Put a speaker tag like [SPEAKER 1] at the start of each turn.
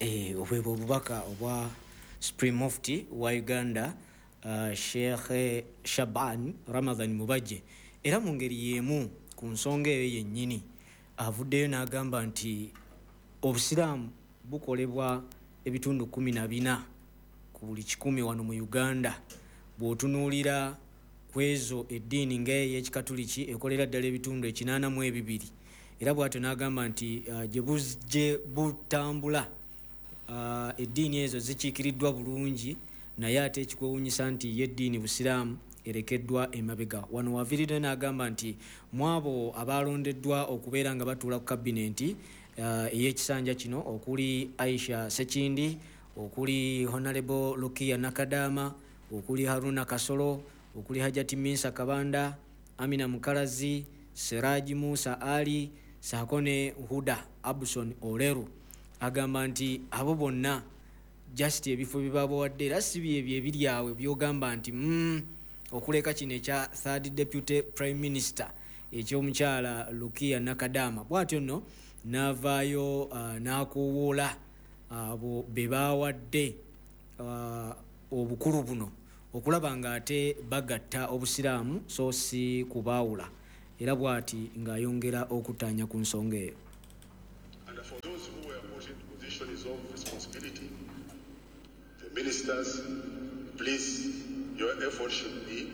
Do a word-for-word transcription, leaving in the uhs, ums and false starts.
[SPEAKER 1] Eh, obwebwe obubaka obwa Supreme Mufti wa Uganda, uh, Sheikh Shaban Ramadhan Mubajje. Era mu ngeri y'emu ku nsonga eyo yennyini avuddeyo n'agamba nti obusiraamu bukolebwa ebitundu kumi na bina ku buli kikumi wano mu Uganda. Bw'otunuulira ku ezo eddiini ng'ey'Ekikatuliki ekolera ddala ebitundu ekinaana mu ebibiri. Era bw'atyo n'agamba nti uh, gye buzje butambula, uh, eddiini ezo zikiikiriddwa bulungi, naye ate ekikwewuunyisa nti ye eddiini busiraamu erekeddwa emabega. Wano waviiridde n'agamba nti mu abo abalondeddwa okubeera nga batuula ku kabinenti, uh, ey'ekisanja kino okuli Aisha Sekindi, okuli Honorable Lukia Nakadama, okuli Haruna Kasolo, okuli Hajati Minsa Kabanda, Amina Mukalazi, Siraji Musa Ali, saako ne Huda Abson Oleru. Agamba nti abo bonna just ebifo bye babawadde era si byebyo ebiri awo by'ogamba nti, mm, okuleka kino ekya third deputy prime minister eky'omukyala Lukia Nakadama. Bw'atyo nno n'avaayo, uh, n'akoowoola abo be baawadde, uh, obukulu buno okulaba ng'ate bagatta obusiraamu so si kubaawula. Era bw'ati ng'ayongera okutaanya ku nsonga eyo.
[SPEAKER 2] And for those who were put in positions of responsibility, the ministers, please, your effort should be